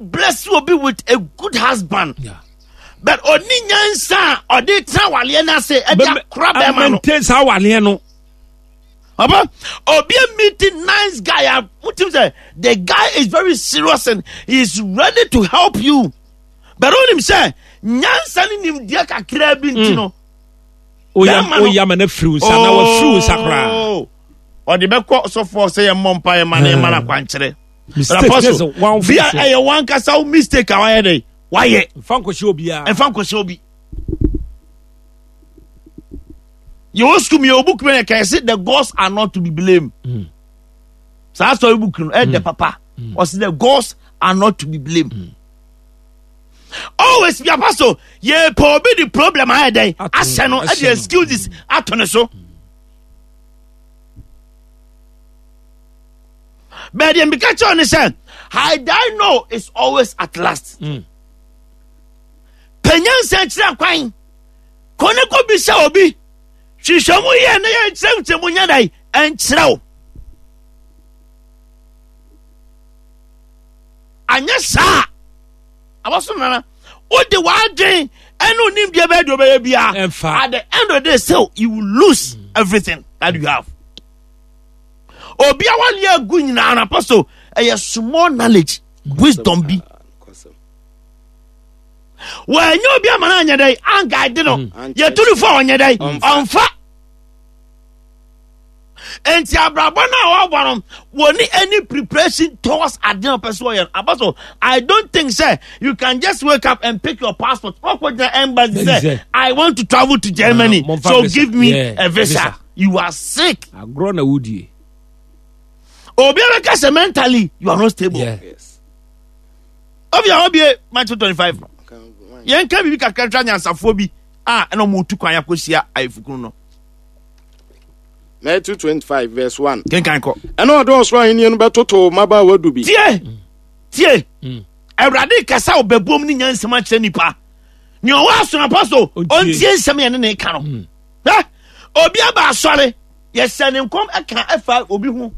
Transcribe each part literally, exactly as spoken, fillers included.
Bless obi with a good husband. Yeah. But oni nyansa a ɔde tena waleɛ no ase ɛde akora bɛrima no. Maintain saa waleɛ no. Papa, obi a meeting nice guy a wotim sɛ the guy is very serious and he is ready to help you. But onim sɛ nyansa ne nimdeɛ kakraa bi nti no. Oya oya ma na firi wo nsa na wafiri wo nsa koraa. Oh, ɔde bɛkɔ sɔfoɔ sɛ yɛ mmɔ mpa yɛ ma na yɛ ma no akwankyerɛ. Mistake Apostle, bia ɛyɛ wankasa wo mistake a wayɛ dɛ wayɛ. Nfa nkɔhyɛ obiara. Nfa nkɔhyɛ obi. Yɛwɔ sukuu mu yɛwɔ book mu yɛ kɛse the gods are not to be blamed. Mm. Saa story book no ɛyɛ mm. papa. Mm. Ɔsi the gods are not to be blamed. Mm. Always be apostle. Yɛ pɛ obi di problem ayɛ dɛ ahyɛ no ɛde excuses ato ne so. But deɛ mbika kyerɛ ne sɛ had I know is always at last. Mm. Pɛ nyansa kyerɛ kwan. Kɔ ne kɔ bisa obi. Hwehwɛ mu yɛ ne yɛ nkyerɛkyerɛ mu nyɛ dɛ ɛnkyerɛ wo. Anyɛ saa abɔso nana wode w'adwen ɛne onimdeɛ bɛyɛ deɛ ɔbɛyɛ biara. Ɛmfa. At the end of the day still you will lose mm. everything that you have. Obi a wale agu nyinaa no apostle ɛyɛ small knowledge wisdom bi. Wɔanyɛ obi ama no anyɛ dɛn anguide no. Mm. Yɛtu no fo a ɔnyɛ dɛn ɔmfa. Nti abrabɔ no a wɔabɔ no wɔni any preparation towards ade a ɔpɛ sɛ ɔyɛ no. Apostle, I don't think sɛ you can just wake up and pick your passport. Wɔkɔ gyina embassy sɛ I want to travel to Germany uh, so give me yeah, a visa. visa. You are sick. Agorɔ na wodie. Obi abɛka sɛ mentally you are not stable. Yeah. Yes. Obi a obi Matthew twenty five. Yɛn ka biribi kakra twa nyansafoɔ bi a ɛna wɔn tu kwan akɔhyia ayefokunu no. Matthew twenty five verse one. Kenkan kɔ. Ɛna ɔde ɔsoro ahenni no bɛtoto mmabaawa du bi. Tie tie. Mm. Awurade kasa ɔbɛbom ne nyansam akyerɛ nipa. Nea ɔwɔ asonapa so ɔntie nsɛm yɛn ne ne ka no. Mm. Hwɛ obi aba asɔre yɛhyɛ ne nkɔm ɛka ɛfa obi ho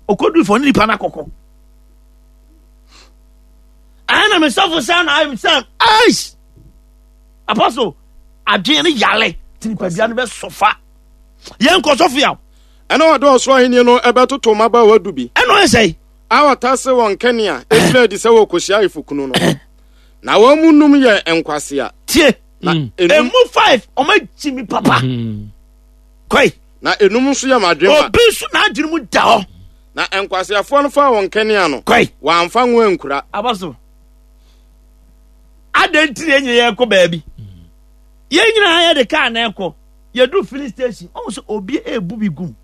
okodu fɔ ne nipa no akɔkɔ. Ɛna me sɔfo sɛ na ayɛ sɛ ɛs apostle adwene no yale ti nipadua no bɛ sɔfa yɛn kɔ sɔfo yaw. Ɛna ɔde ɔsoro ahenni no ɛbɛtoto mmabaawa du bi. Ɛna ɔyɛ sɛ. A wɔtase wɔn kanea efiri adi sɛ wɔkɔhyia ayefokunu no. Na wɔn mu num yɛ nkwasea. Tie. Na Mm. enum Emu five ɔmo akyi mi papa. Mm. Kɔi. na enum nso yɛ madwemma. Obi nso n'adwene mu da hɔ. Na nkwaseafoɔ no faa wɔn kanea no. Kɔi. Wɔamfa ngo ankura. Aba so. Adɛn nti na yɛn nyinaa yɛkɔ baabi? Yɛn nyinaa yɛde kaa na ɛkɔ. Yɛdu filling station. Ɔmo sɛ obi ebu bi gum.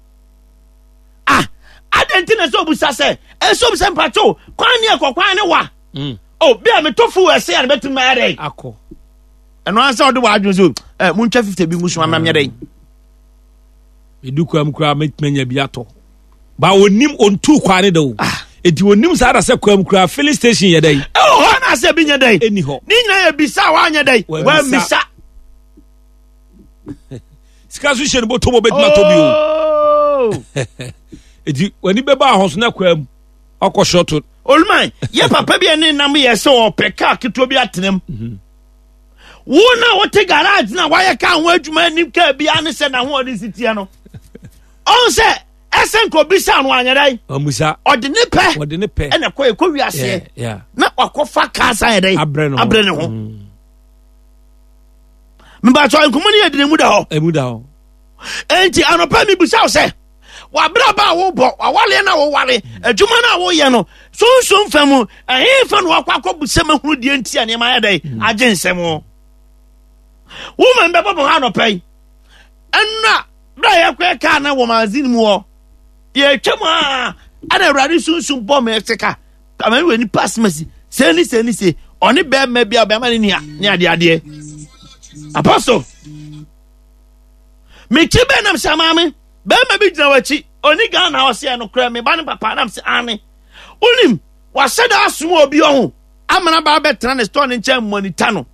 Ah, adɛn nti na sɛ obusa sɛ ɛsɛ obusa mpatwo kwan ne ɛkɔ kwan ne wa. Mm. Oh, bi a meto fuel ɛsɛ a na bɛtumi ayɛ dɛn? Akɔ. Ɛno ansa ɔde w'adwene so ɛ muntwa fifty bi ngu so ama menyɛ dɛn? Edu kwa mu koraa mɛtumi anya bi atɔ. Ba onim ontu kwan ne da o. Eti onim saa da sɛ kwa mu koraa filling station yɛ dɛn? Ɛwɔ hɔ na asɛ bi nyɛ dɛn? Ɛni hɔ. Ne nyinaa yɛ bisa a wanyɛ dɛn? Wammisa. Wammisa. Sika so hyɛ ne bɔtɔ mu obɛtumi atɔ bi o. Oh. Eti w'ani bɛba ahɔ so na kwa mu ɔkɔ shɔto. Oluman, yɛ papa bi a ne nam yɛ sɛ ɔpɛ kaa ketewa bi atena mu. Wo na wote garage na wayɛ kaa ho adwuma anim kaa biara ne sɛ n'ahoɔden si teɛ no. Ɔn sɛ ɛsɛ nka obisa no anyɛ dɛn? Amusa. Ɔde ne pɛ Wɔde ne pɛ. ɛna ɛkɔ ɛkɔ wiaseɛ Yeah, yeah. na wakɔfa kaa san yɛ dɛn? Abrɛ ne ho. Abrɛ ne ho. Mm. Mebatɔ nkɔmmɔ no yɛ dene mu da hɔ. Emu da hɔ. Enti anɔpa mebisa wo sɛ wabrabɔ a wobɔ wawaleɛ no a woware adwuma no a woyɛ no sunsum fa mu ɛhe fa na wakɔ akɔbu sɛ mahunu deɛ nti a nneɛma ayɛ dɛn agye nsɛm o woma mbɛbɔ bɔ hɔ anɔpa yi ɛnna berɛ a yɛkɔɛ kaa na wɔ magazine mu hɔ yɛtwa mu a ɛna awurade sunsum bɔ me sika ama wɔ nipa asemasi sɛ ne sɛ ne sɛ ɔne bɛrima bi a bɛrima ne nua ne adeadeɛ apostle mekyi bɛɛ nam sɛ maame bɛrima bi gyina w'akyi ɔni Ghana ɔsɛ ɛno korɛ me ba ne papa nam sɛ ane wonim wahyɛ da asom obi ɔho amana ba bɛtena ne store ne nkyɛn mɔnita no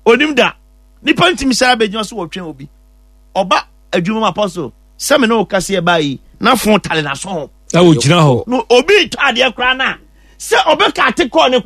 onim da nipa ntumi sɛ abɛgyina so wɔtwɛn obi ɔba adwuma mu apostle sɛ me ne wo kase ɛbaa yi na fon tale n'aso ho Na ogyina hɔ. No obi tɔ adeɛ koraa no a Sɛ ɔbɛka ate kɔɔ ne kora.